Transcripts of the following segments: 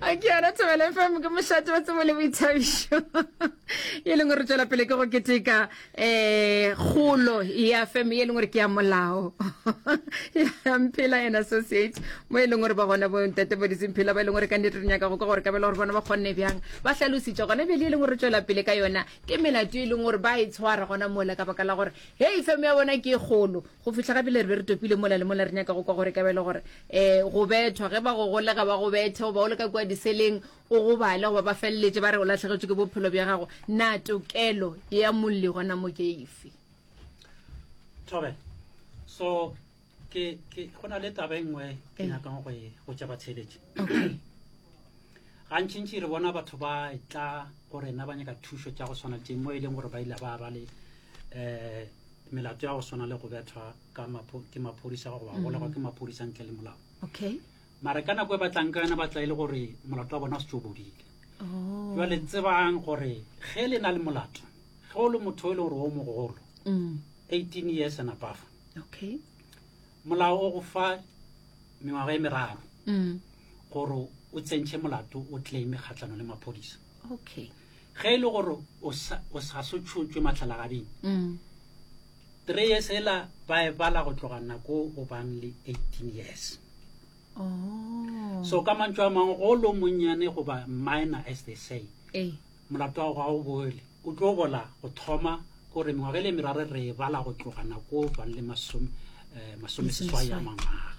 A ke yona Thobela FM ke mošate wa tsebo le boithabišo e leng gore tšwela pele ke go keteka um kgolo ya fm e leng gore ke ya molao ya Mphela and Associate mo e leng gore ba gona bo ntate bo Mphela ba e leng gore ka nnete re nyaka go ka gore kabela gore bona ba kgonne bjang ba hlalositše gona bjale e leng gore tšwela pele ka yona ke melato e leng gore ba e tshwara gona mola ka baka la gore hei fm ya bona ke e kgolo Go fihla ga bjale re be re topile mola le mola re nyaka go kwa gore ka bjale gore um go bethwa ge ba go golega ba go bethe goba o le ka kua diseleng o gobale goba ba feleletše ba re o lahlegetšwe ke bophelo bja gago na tokelo ya molli gona mo ke efe? Thobela. So ke ke go na le taba e nngwe ke Ee. nyakang go e go tša batheeletši. Okay. Gantšintši re bona batho ba tla go rena ba nyaka thušo tša go swana le tše mo e leng gore ba ile ba ba le um melato ya go swana le go bethwa ka ke maphodisa goba go golegwa ke maphodisa ntle le molao okay mara ka nako e batlang ka yona batla e le gore molato wa bona o setse o bodile oh. jale tsebang gore ge le na le molato ge o le motho e le gore o mogolo mm. 18 years and above okay molao o go fa mengwaga e meraro mm. gore o tsentšhe molato o claime kgatlhano le maphodisa okay Ge e le gore o sa o sa so tšhotšwe mahlalagading, Mm. three years ela ba e bala go tloga nako o bang le 18 years. Oh. So ka mantšu a mangwe go lo monnyane goba minor as they say, Ee. molato wa gago ga o boele. O tlo bola go thoma kore mengwaga e le meraro re e bala go tloga nako o bang le masome eh, masomeseswai a Masomeseswai. mangwaga.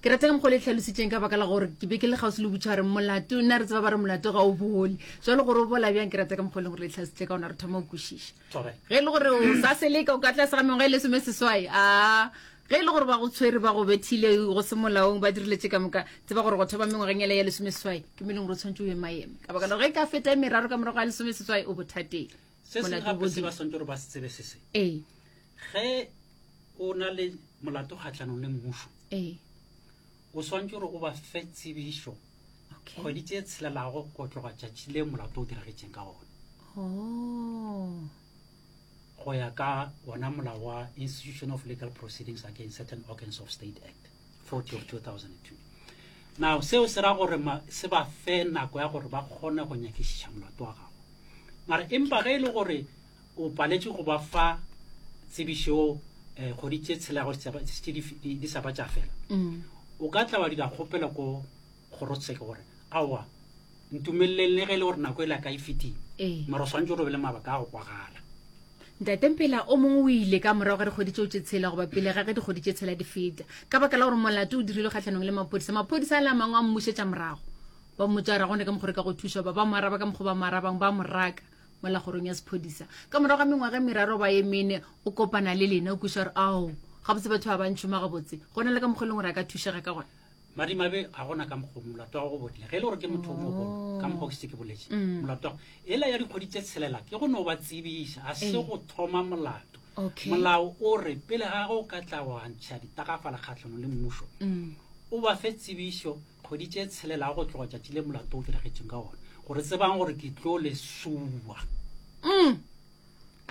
Ke rata ka mokgwa o le tlhalositšeng ka baka la gore ke be ke le kgauswi le butšha gore molato nna re tseba ba re molato ga o bole jalo gore o bola bjang ke rata ka mokgwa e leng gore le tlhalositše ka ona re thoma go kwešiša ge e le gore o sa seleka o ka tlase ga mengwaga e lesome seswai a ge e le gore ba go tshwere ba go bethile go se molaong ba dirile tše ka moka tseba gore go thoma mengwageng ele ya lesome seswai ke mo e leng gore o tshwanetse o emaeme ka baka la gore ge e ka feta e meraro ka morago ga lesome seswai o bothateng se sengwe Molato o gape se bodile. ba swantse gore ba se tsebe se se ee ge o na le molato kgatlhanong le mmušo ee o swantse gore o ba fe tsebišo okay kgwedi tše tshelelago go tloga tšatši le molato o diragetšeng ka gona oh go ya ka wona molao wa institution of legal proceedings against certain organs of state act 40 of 2002 now seo se ra gore se ba fe nako ya gore ba kgone go nyakišiša molato wa gago mara empa ge e le gore O paletšwe go ba fa tsebišo eh, kgwedi tše tshelago tše di sa ba tša fela. Mm. O ka tla wa dira kgopelo ko kgorotsheko gore aowa ntumeleleng le ge e le gore nako e la ka e fetile. Ee. Mara o swantse gore o be le mabaka a go kwagala. Ntate Mpela o mongwe o ile ka morago ga dikgwedi tšeo tše tshela goba pele ga ge dikgwedi tše tshela di feta ka baka la gore molato o dirilwe kgahlanong le maphodisa. Maphodisa a le a mangwe a mmušetša morago ba mmotša gore ga gona ka mokgwa re ka go thuša ba ba mo araba ka mokgwa ba mo arabang ba mo raka. mola kgorong ya sephodisa ka morago ga mengwaga e meraro ba ye mene o kopana le lena o kweša gore ao gabotse batho ba ba ntšhoma gabotse go na le ka mokgwa e leng gore a ka thušega ka gona madimabe ga gona ka mokgwa molato wa go bodile ge e le gore ke motho o mogolo ka mokgwa ke setse ke boletse Mm. molato wa ela ya dikgwedi tse tshelela ke go no ba tsebiša a se Ee. go thoma molato Okay. molao o re pele ga go ka tla wa ntšha ditagafala kgatlhanong le mmušo Mm. o ba fe tsebišo Kgwedi tše tshelelago go tloga tšatši le molato o diragetšeng ka ona, gore tsebang gore ke tlo le sua. Mm.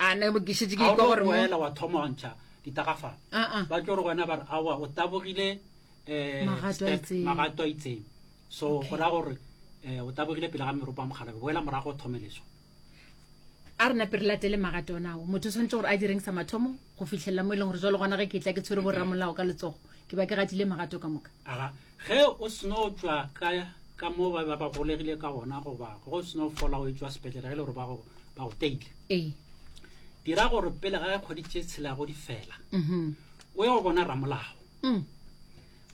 A ne ke šetše ke Ga o ikwa no gore mo. boela wa thoma wa ntšha ditagafala. Ah, ah. Ba tlo re go wena ba re aowa o tabogile eh, Magato a step, itseng. magato a itseng. So Okay. go raya gore eh, o tabogile pele ga meropa mogalabe, boela morago o thome leswa. A re nape re latele magato ona ao. Motho o swanetše gore a direng sa mathomo go fihlelela mo e leng gore jalo gona ge ke tla ke tshwere borramolao ka letsogo ke ba ke gatile magato ka moka. Aga, ge o seno tšwa ka ka mo ba ba golegile ka gona goba ge o seno fola o etšwa sepetlele ge e le gore ba go ba go teile. Ee. Dira gore pele ga kgwedi tše tshelago di fela Mhm. o ye go bona ramolao. Mm.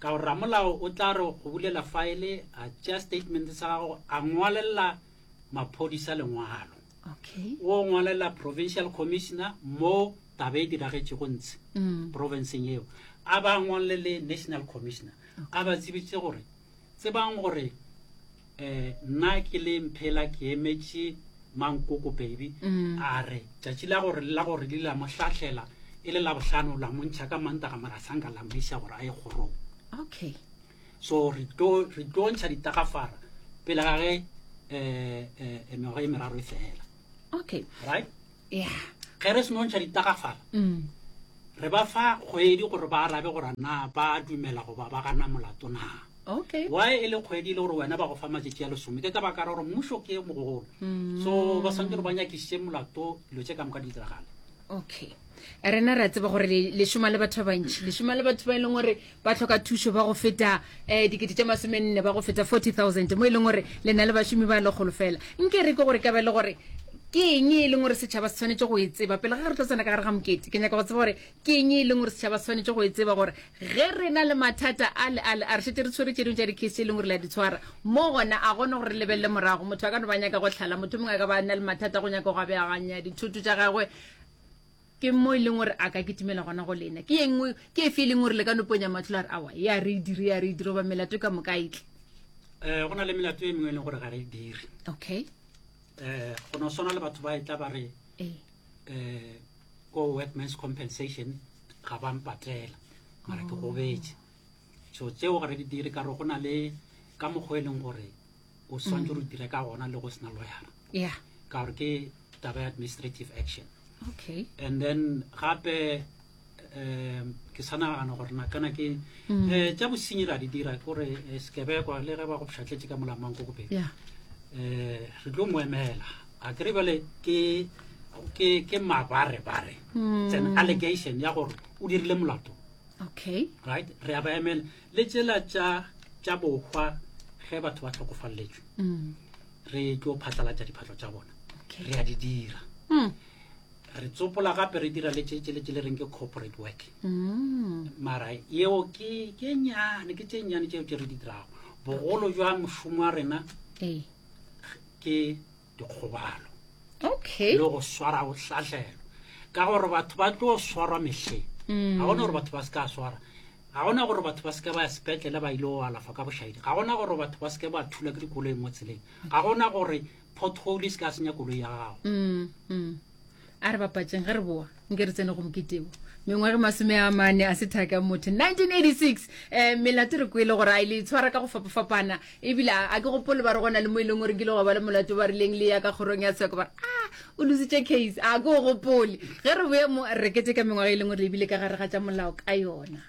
Ka gore ramolao o tla re go bulela faele a tšea statement sa gago a ngwalelela maphodisa lengwalo okay o ngwalela provincial commissioner mo taba e diragetšego ntshe mm. provinceng eo a ba ngwalele national commissioner a ba tsebitse gore tsebang gore um nna ke le mphela ke emetše mankoko baby mm. a re tšatši la gore la gore le la mo hlahlela e le la bohlano la montšha ka mantaga mara sanka la mo iša gore a ye kgorong okay So re tlo re tlo ntšha ditagafara pele ga ge eh eh mengwaga e meraro e fela. Okay. Right? Yeah. Ge re seno ntšha ditagafara Mm. re ba fa kgwedi gore ba arabe gore na ba dumela goba ba gana molato na. Okay. Why e le kgwedi e le gore wena ba go fa matšatši a lesome? Ke ka baka la gore mmušo ke mogolo. Mm. So ba swanetše gore ba nyakišiše molato dilo tše ka moka di diragale. Okay. Rena re a tseba gore le šoma le batho ba bantši, le šoma le batho ba e leng gore ba tlhoka thušo ba go feta um dikete tše masomenne ba go feta 40,000 mo e leng gore le na le bašomi ba lekgolo fela. Nke re ke gore ka ba le gore ke eng e leng gore setšhaba se tshwanetse go e tseba pele ga re tlo tsena ka gare ga mokete ke nyaka go tseba gore Ke eng e leng gore setšhaba se swanetše go e tseba gore ge re na le mathata a le a le a re šetše re tshwere tše dingwe tša di-case tše e leng gore le a di tshwara mo gona a gona gore re lebelele morago motho a ka no ba nyaka go hlala motho mongwe a ka ba na le mathata go nyaka go abeaganya dithoto tša gagwe ke mo e leng gore a ka kitimela gona go lena ke engwe ke efe e leng gore le ka no ponya matlho la re awa ya re e dire ya re e dire goba melato ka moka e tle um go na le melato e mengwe e leng gore ga re e dire okay um go no swana le batho ba e tla ba re um ko workmans compensation ga ba mpatela mara ke gobetše so tseo ga re di dire ka gore go na le ka mokgwa e leng gore o swantse gore o dire ka gona le go sena lawyera yeah ka gore ke taba ya administrative action okay and then gape um ke sa nagana gore na kana ke um tša bosenyi ra di dira kore eh, sekebekwa le ge ba go pšhatletše ka molamang ko kopeng yeah um re tlo mo emela a kere bjale ke ke ke mabarebare mm. it's an allegation ya gore o dirile molato okay right re a ba emela le tsela tša tša bohwa ge batho ba tlhokofaleletswe mm. re tlo phatlalatša diphatlo tša bona okay. re a di dira mm. re tsopola gape re dira le tše tše le reng ke corporate work mm. mara yeo ke ke nyane ke tše nyane tšeo tše re di dirago bogolo jwa mošomo wa rena ke dikgobalo okay le go swara go hlahlelo ka gore batho ba tlo swarwa mehleng mm. ga gona gore batho ba se ka swara ga gona gore batho ba se ke ba ya sepetlele ba ile go alafa ka bošaedi ga gona gore batho ba se ke ba thula ke dikoloi mo tseleng ga gona gore pothole e se ka senya koloi ya gago mm, mm. A re bapatšeng ge re boa nke re tsene go moketebo mengwage masome a mane a se thaka motho 1986 um melato re kwele gore a ile itshwara ka go fapafapana ebile a ke gopole ba re gona le mo e leng gore nkile go ba le molato ba rileng le ya ka kgorong ya tsheko ba re a o lositše case a ke o gopole ge re boye mo re keteka mengwaga e leng gore ebile ka gare ga tša molao ka yona.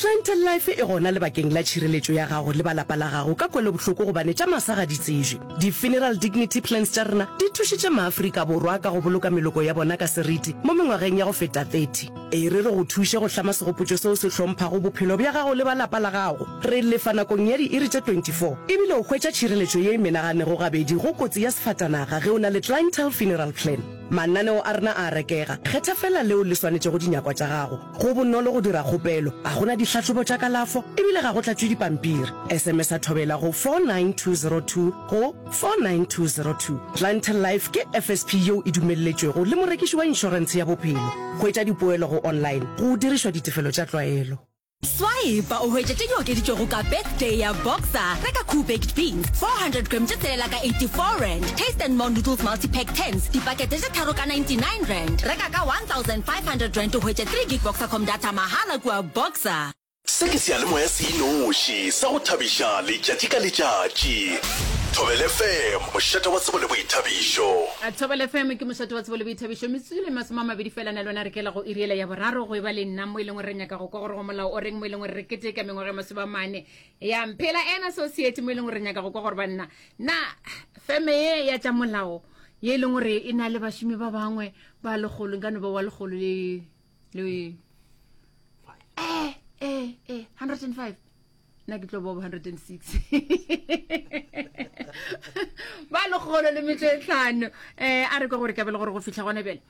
Clientele Life e gona lebakeng la tšhireletšo ya gago le ba lapa la gago ka kwelobohloko gobane tša masa ga di tsebje. Di-Funeral Dignity Plans tša rena di thušitše maAfrika Borwa ka go boloka meloko ya bona ka seriti mo mengwageng ya go feta 30. E re re go thuše go hlama segopotšo seo se hlomphago bophelo bja gago le ba lapa la gago. Re lefa nakong ya diiri tše 24 ebile o hwetša tšhireletšo ye e menaganego gabedi go kotsi ya sefatanaga ge o na le Clientele Funeral Plan. Mananeo a rena a a rekega, kgetha feela leo le swanetšego dinyakwa tša gago. Go bonolo go dira kgopelo, ga go na dihlahlobo tša kalafo e bile ga go tlatšwe dipampiri. SMS-a Thobela go 49202 go 49202. Clientele Life ke FSP yeo e dumelletšwego le morekiši wa inšorentshe ya bophelo. Hwetša dipoelo go online go dirišwa ditefelo tša tlwaelo. Swipe o hwetše tše di okeditšwego ka Birthday ya Boxer. Reka Koo Baked Beans 400 gram tše tshelela ka R84, Taste and More Noodles Multi-Pack Tins dipakete tše tharo ka R99. Reka ka R1500 o hwetše 3 gig Boxercom data mahala kua Boxer. Se ke seyalemoya se inoši sa go thabiša letšatši ka letšatši. Thobela FM, mošate wa tsebo le boithabišo. Thobela FM ke mošate wa tsebo le boithabišo. Metsotso le masome a mabedi fela na le wena re kela go iri yela ya boraro go eba le nna mo e leng gore re nyaka go kwa gore go molao o reng mo e leng gore re keteka mengwaga ya masome a mane ya Mphela and Associate mo e leng gore re nyaka go kwa gore banna na feme ye ya tša molao ye e leng gore e na le bašomi ba bangwe ba lekgolo nka no ba wa lekgolo le le eh eh eh 105 nna ke tlo bo 106 ba lekgolo le metso e tlhano um a re kwa gore kabele gore go fitlha gona bjale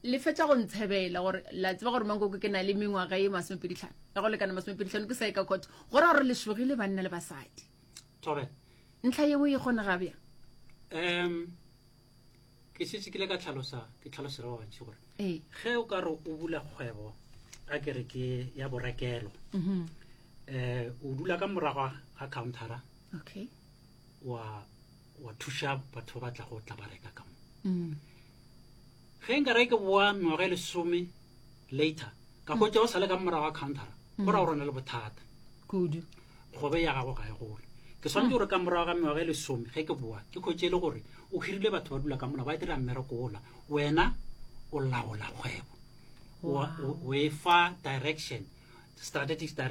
le fetša go ntshebela gore la tseba gore mankoko ke na le mengwaga ye masomepeditlhano ya go lekana masomepeditlhano ke sa e ka court go ra gore le šogile banna le basadi Thobela. Ntlha yeo e kgonega bjang? Um ke šetše ke ile ka tlhalosa ke tlhalosela ba bantši gore Ee. ge o ka re o bula kgwebo a ke re ke ya borekelo Mhm. um o dula ka morago ga countera Okay. wa wa thuša batho ba ba tla go tla ba reka ka mo Mm. Ge nka re ke boa mengwaga e lesome later ka hwetša o sa le ka morago ga countera go ra gore o na le bothata kudu kgobe ya gago ga e gole ke swanetše gore ka morago ga mengwaga e lesome ge ke boa ke hwetše e le gore o hirile batho ba dula ka mola ba dira mmereko ola wena o laola kgwebo o e fa direction strategic direction.